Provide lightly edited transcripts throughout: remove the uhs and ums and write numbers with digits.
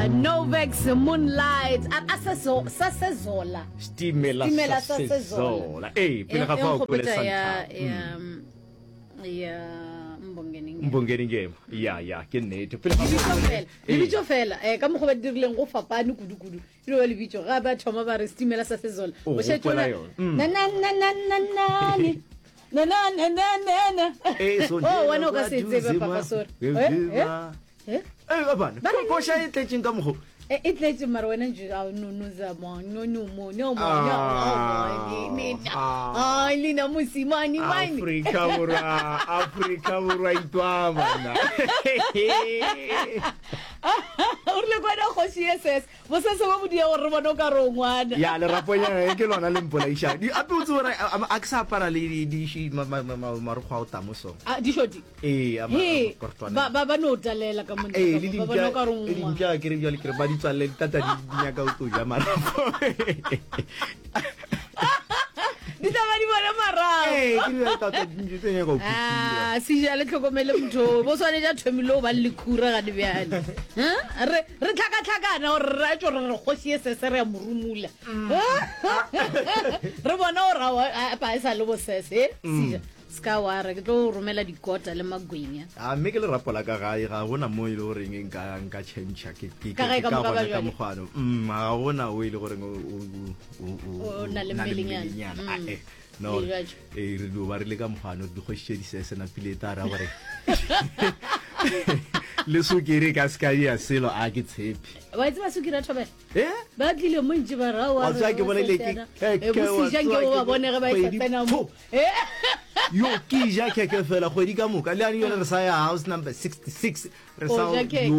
Novex Moonlight a a se so sa sezola Stimela Stimela sa sa Sezola. Sezola. Ee, E pele ga e fao kwele nkgopotša ya Santa. ya ya Mbongeni Ngema. Mbongeni Ngema. Ya ya, ke nnete. Pele ga Lebitso fao kwele. fela, Ee. lebitso fela eh ka mokgwa ba dirileng go fapane kudu kudu. E no ba lebitso ga ba thoma ba re stimela sa sezola. O O šetše gopola o na yona. Mm. na na na na na na ni. Na na na na na na. Ee, Oh, wena o ka se tsebe papa sorry. Eh, eh. Eh? Ee, bana. Ba re- Koša e tletšeng ka mokgo. E e tletše mara wena nje a no no za mo no no mo no mo no Ah, mo ni ah. ai lina mosimane mane Afrika Borwa, Afrika Borwa itwa bana. o rile kwana kgoši e ses bosese bo bodia gore re bone o ka re o ngwana ya leraponyana ke lona le mpolaišang Di- ape o tsebe gore a- a- a ke sa apara le di- di- di- ma- ma- ma- ma- marokgwe a o tamo so Ah, dišoti ee a ma- he a makortwana. ba ba ba no talela ka monna ee ka le mo, ba bona o ka re o dimpša le ngwana. dimpša ke re bjale ke re ba di tswalele ditata di di nyaka o tlo ja marapo di tla ba di bona marago ee ke re bjale tata dintšu tse nyaka go phutula Ah, seja le tlhokomele motho o, bo swanetše a thomile o ba le lekhura gane bjale Huh? re re tlhakatlhakana gore re tšo re re kgoši e sese re ya morumula re bona gore aowa, a pa e sa le bosese eh, seja Se ka wa re ke tlo romela dikota le magwenya. A mme ke lerapo la ka gae ga gona mo e le goreng nka nka change ke ke Ka gae ke ka ka moka ba gona ka jwale. mokgwano. Mm ga gona o e le goreng o o o o O na le na le mmelenyana. mmelenyana. Ah, Mm. eh. No. Le jwatšo. Eh re dio ba re le ka mokgwano dikgoši tše di sese napile e tla ra gore le sukiri ka se ka ya selo a ke tshepe. Wa e tseba sukiri ya thobela? Eh? Ba tlile mo ntše ba ra wa Wa tseba ke bolaile ke Eh, bosija nke o ba bone ge ba e sa tsena mo. Eh? Yo ke ja keke fela kgwedi ka moka le ane yone re sa ya house number 66 re sa O ja keke. yo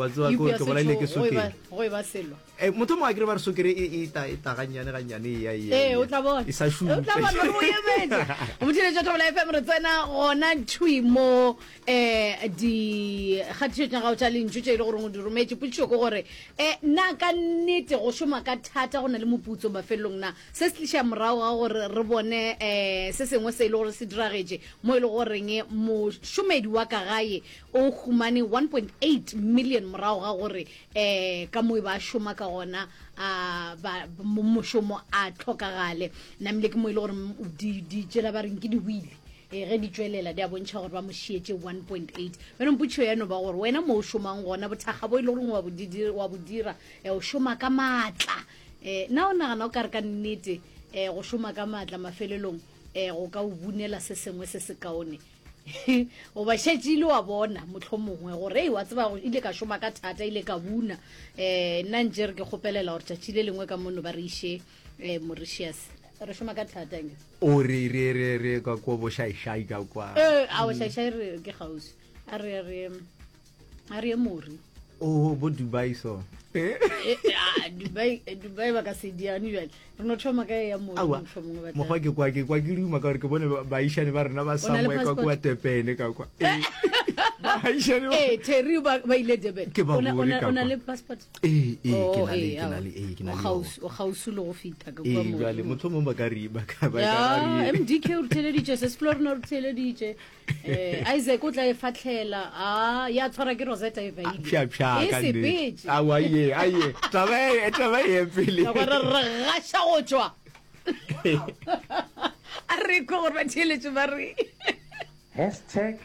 wa tseba Eupša ke ke bolaile ke setšo, go e ba- sokere go e ba selo. Eh, motho mongwe a kere ba re sokere e e ta e ta gannyane gannyane e ya e ya, Ee, e o ya. tla bona. e sa šupe O tla bona gore o emetse. Motheeletši wa Thobela FM re tsena gona thwi mo eh dikgatišo tša gago tša lentšu tše e le goreng o di rometše. Potšišo ke gore eh na ka nnete go šoma ka thata go na le moputso mafelelong na? Se se tliša morago ga gore re bone um se sengwe se e le gore se diragetše mo e le goreng mošomedi wa ka gae o humane 1.8 million morago ga gore um ka mo e ba šoma ka gona a ba mošomo a tlhokagale. Namile ke mo e le gore di tšela ba reng ke di-wheel e ge di tšwelela di a bontšha gore ba mo šietše 1.8 bjale mpotšišo ya no ba gore wena mo o šomang gona bothakga bo e le goreng wa bo dira o šoma ka maatla Eh, na o nagana o ka re ka nnete eh, go šoma ka maatla mafelelong eh, go ka o bunela se sengwe se sekaone? Goba šetše ile wa bona mohlomongwe gore ei wa tseba go ile ka šoma ka thata ile ka buna. Eh, nna ntše re ke kgopelela gore tšatši le lengwe ka mono ba re iše eh, Mauritius. Re šoma ka thata nke. O re re re re ka ko bošaišai ka kwa. Eh, a bošaišai re ke kgauswi. A re re a re ye mori o bo dubai so eh, eh, ah, dubai eh, dubai ba ka se diane jale re no thoma ka ya mori mokgwa ke kwa ke kwa ke duma ka gore ke bone baišane ba rena ba somewhere ka kwa tepene ka kwa baišane eh terry ba ba ile durban ke ba bone ka o na le passport ee ee ke na le ke na le ee ke na le o gausu le go fita ka kwa mo jale motho mongwe ba ka re ba ka ba ka re mdk o re theleditše se splorno re theleditše Eh, Isaac o tla e fahlela a ya tshwara ke Rosetta e vaile Pša pša e ka nnete. sepetše Aowa ye aye taba e taba e ye pele. Ka gore re gaša go tšwa a re kwe gore batheeletše ba re Hashtag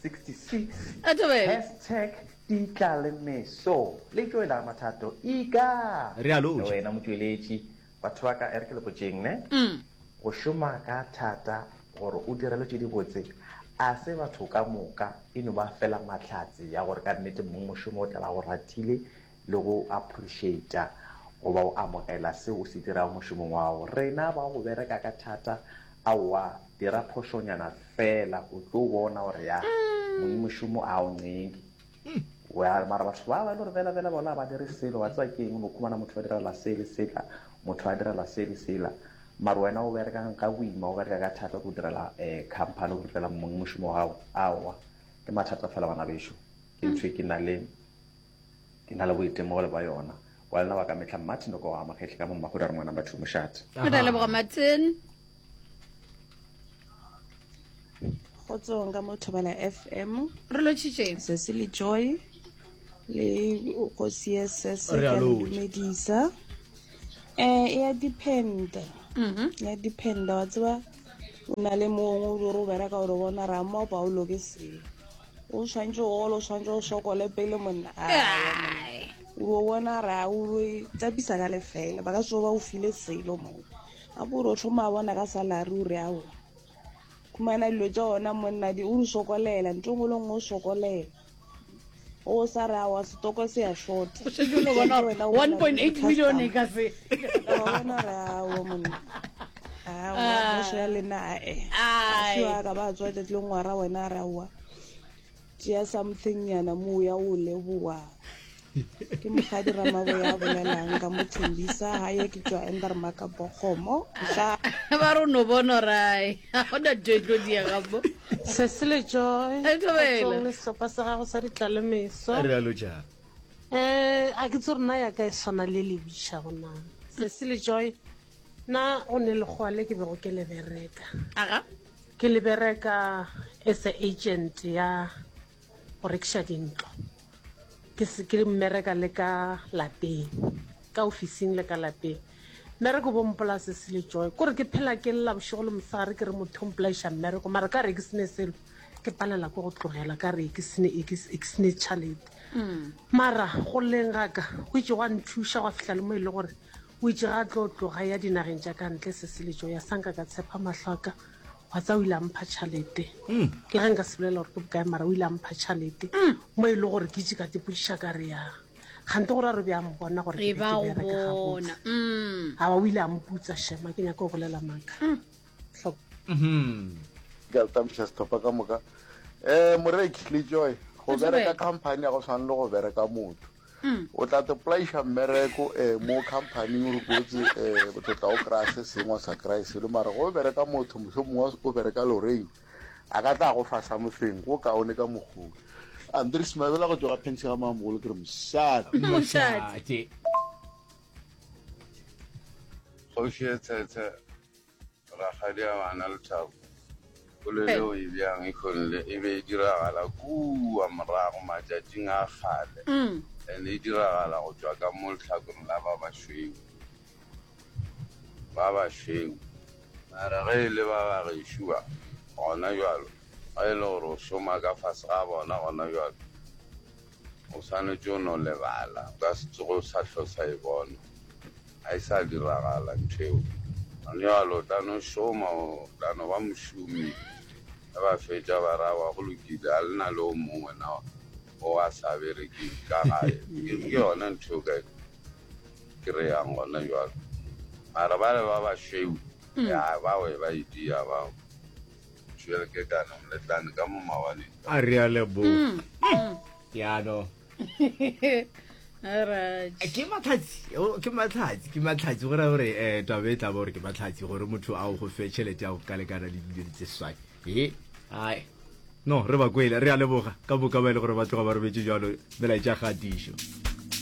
66 A thobela. Hashtag di tla le meso le tšwela mathato ika Re a lotšha. Le wena motšweletši Batho ba ka, e re ke le botšeng ne, go šoma ka thata gore o direlwe tše dibotse a se batho ka moka, e no ba fela mahlatse ya gore ka nnete mongmošomo o tla ba go ratile le go appreciata goba go amogela seo o se dirago mošomong wa gago. Rena ba go bereka ka thata, aowa, dira phošonyana fela o tlo bona gore ya mongmošomo a o ncenke. Well, mara batho ba ba e le gore bela bela bona ga ba dire selo, wa tseba ke eng, o no khumana motho ba direla se le sela, motho a direla se le sela, mara wena o berekang ka boima, o bereka ka thata go direla um company, go direla mong mošomo wa gago, aowa, ke mathata fela bana bešo, ke ntho e ke na le ke na le boitemogelo ba yona. Wa lena wa ka mehla Martin o ka wa Magetle ka mo Mmagodu a re ngwana batho mošate. Re a leboga Martin. Kgotsong ka mo Thobela FM. Re lotšhitše. Sesi le Joy. Le go CSS Re ke a a le lotšha. dumedisa. Eh e ya dependa. Mhm. Ya dependa wa tseba o na le mongwe o re o bereka o re bona ra mo Paulo ke se. O tshwantse o gole o tshwantse o sokole pele monna. Aowa monna. Ai. O bona ra o e tsapisa ka lefela ba ka se ba o file selo mo. Gape o re o thoma bona ka salary o re aowa. Khumana dilo tša ona monna di o di sokolela ntho e nngwe le nngwe o sokolela. O sa re aowa setoko se a short. O šetše o no bona gore 1.8 million e ka se. Wa bona re aowa monna. Aowa Ah. poso ya lena ae. Ai. Sio a ka ba tswa tšatši le ngwara wena a re aowa. Tšea something nyana mo o ya o leboga. Ke mokgadi Ramaboya a bolelang ka mo Thembisa gae ke tšwa Endermaka Bokgomo. Tla. Ba re o no bona gore ai ga gona ntho e tlo diega mo. Cecile Joy, E thobela. Kgotsong le sehlopha sa gago sa ditlalemeso. Re a lotšha. Eh, a ke tse rena ya ka e swana le le bitšago na. Cecile Joy, na go ne lekgowa le ke bego ke le bereka. Aga. Ke le bereka as a agent ya go rekiša dintlo. Ke se ke mmereka le ka lapeng, ka ofising le ka lapeng. Mmereko bo mpolaya Cecile Joy. Kore ke phela ke lla bošego le mosegare ke re motho o mpolaiša mmereko mara ka re ke sene selo ke palela ke go tlogela ka re ke sene e ke e ke sene tšhalete. Mara go lleng ga ka go itše gwa nthuša gwa fihla le mo e le gore o itše ga a tlo tloga ya dinageng tša ka ntle Cecile Joy a sa nka ka tshepa mahlo a ka Wa tseba o ile a mpha tšhalete. Le ge nka se bolela gore ke bokae mara o ile a mpha tšhalete. Mo e le gore ke itše ka tepodiša ka re ya. Kgante gore a re be a mpona gore ke E be ba ke go bereka bona. gabotse. Mm. Aowa o ile a mputsa shema ke nyaka go bolela maaka. Hlok. Ke a tamiša sehlopha ka moka. Um Moreki le Joy, go O bereka thobela. company ya go swana le go bereka motho. O tla te polaiša mmereko um mo companyng o re kotse um botho tla o kry-a se sengwe sa kry-e selo mara go bereka motho mohlomongwe o bereka loring a ka tla go fa something go kaone ka mokgoo. Andries Mabela go tšwa ga Pension ga Mamogolo ke re mošate. Mošate. Kgoši e tshetshe Rakgadi a bana Lethabo, polelo eo e bjang e kgonle e be e diragala kua morago matšatšing a kgale and e diragala go tšwa ka mo lehlakoreng la ba bašweu, ba bašweu. Mara ge e le ba ba gešo ba gona bjalo, ge e le gore o šoma ka fase ga bona gona bjalo, O swanetše o no lebala, o ka se tsoge o sa hlo sa e bona. Ga e sa diragala ntho eo. Gone bjalo o tla no šoma, o tla no ba mošomi. Ge ba fetša ba re, Aowa, go lokile, ga le na le o mongwe na o a sa berekeng ka gae. Ke yona ntho eo ka e kry-ang gona bjalo. Mara bale ba bašweu, ya, bao e ba e dia bao. Tšwele ke kana moletlane ka mo mawaneng. A re a leboga. Ya no. Alright. Ke matlhatsi, o, ke matlhatsi, ke matlhatsi go raya gore eh taba e tla ba gore ke matlhatsi gore motho a o go fe tšhelete ya go ka lekana le dimilione tse seswai. E, ai. No, re ba kwele, re a leboga ka moka ba e le gore ba tloga ba robetše jalo melaetša kgatišo.